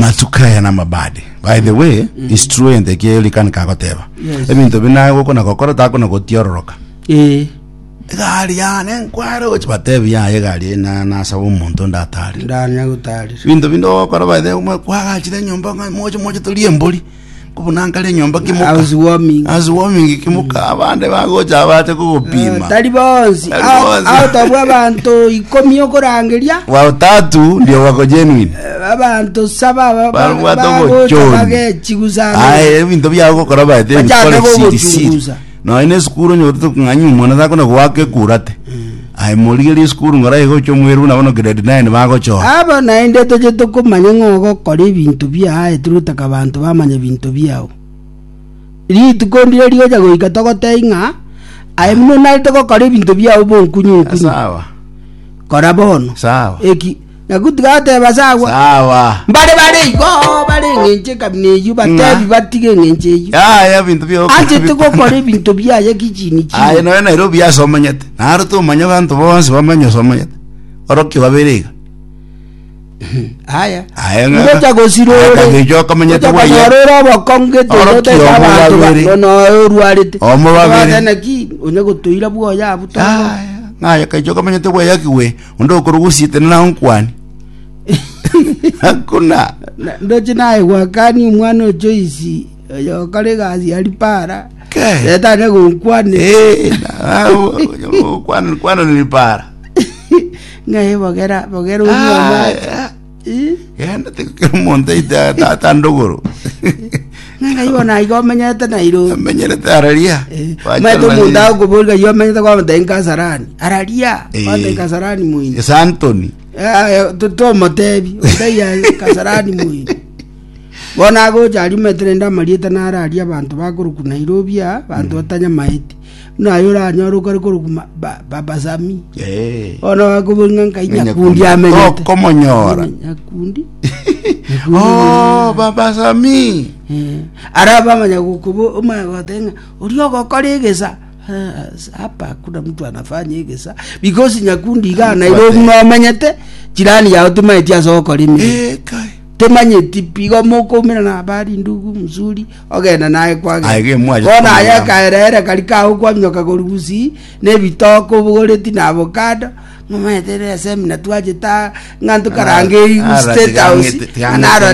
Amatuko aya namabadi. By the way, it's true ente ki Elikana kagoteba. Yes. Ebinto binaye gokona gokora takona gotiororoka. Eh. Egari yane nkware gochi batebi yaye egari eye na nasaba omonto ndatare. Ndanya gotarire. Ebinto binde ogokora by the way kwagachire enyomba ng'a moche moche torie embori. Kobuna nkare enyomba kimoka. Housewarming. Housewarming kimoka abande bagocha bache Eh, kogopima. tari bonsi Tari Out- bonsi. out of abanto ikomi okorangeria Wa utatu ndio wako genuine. eh, abanto saba ba- ba- Babwate bagocha obochoni. bagechigusana Aye ebinto biago gokora baete Bachake ebikore siri siri. gogochunguza. Nonya na esukuru onye otete kong'anyia omwana takona goaka ekurate. Aye morigerie esukuru ng'ora iga oche omoeru buna bono grade 9 bagochora. Aba naende toche tokomanya ng'a ogokora ebinto biaye tirotaka abanto bamanye ebinto biao. Rituko ndire rigocha goika togotebie ng'a aye buna onarete gokora ebinto biao bonkunyu nkunyu. Sawa. Kora bono. Sawa. Eki Nyakuti gateba sawa. Sawa. Mbare bare igo bare eng'encho ekabina eyio batebi batige eng'encho eyio. Yaya ebinto bio Anchete gokora ebinto biaye kichini chini. Aye nonya Nairobi ase omanyete. Naro tomanya abanto bonsi bamanye ase omanyete. Orokia babere iga. Aya. Aye ng'a- Ngocha gosira Aye ore. kagecho okamanyete Ngocha bwaye. konyora ore obokong'u gete Orokia otete omo abanto ba- babere. nono orwarete. Omo babere. Ogoteba naki onye gotoira bwoye abwo toro. Aya, ng'aye kagecho okamanyete bweyaki we. Onde okorugusia tenena onkwane. Hakuna. Na- Ndoche naye gwakani omwana o Joyce oyo okora egasi ya ripara Ke. retane gonkwane Eh, na- ah, kwana kwana ni para. ng'ai bogera bogera Ah, onyuoma ah. Genda tikero omonto aite tata ndogoro. ng'ai bono aiga omenyete Nairobi Amenyerete araria. maete omonto agokoboria ng'ai omenyete kwamotebia Kasarani araria Eh. kwamotebia Kasarani moino Ase Anthony. Tomotebi otaiya Kasarani moino bono agocha aria omanyete naende amarieta naro aria abanto bakorokwa Nairobi aa abanto batanyamaeti buna aye oranyore okare korokwa ma- ba- Baba Sammy Eh. bono bakoboria ng'a nkai Nyakundi Nyakundi amenyete Tokomonyora. Nyakundi Oh, Baba Sammy. Eh, ara bamanya gokobo omanya goteba ng'a oria ogokora egesa Ah, hapa hakuna mtu anafanya egesa because Nyakundi iga Nairobi nomenyete jirani yao timanyeti ase ogokora emeremo Eh, kai. timanyeti pi igo mokoumerana habari ndugu mzuri ogenda naye kwagenda Aye, gemwacha bono aye komanya. akaerere kari kago kwaminyoka korwa gusii na ebitoke obogoreti na avocado ng'omanyete ere esemina twachete aa ng'a ntokarange Ah, State tiga House ng'ete- tiga naro ng'ete tiga.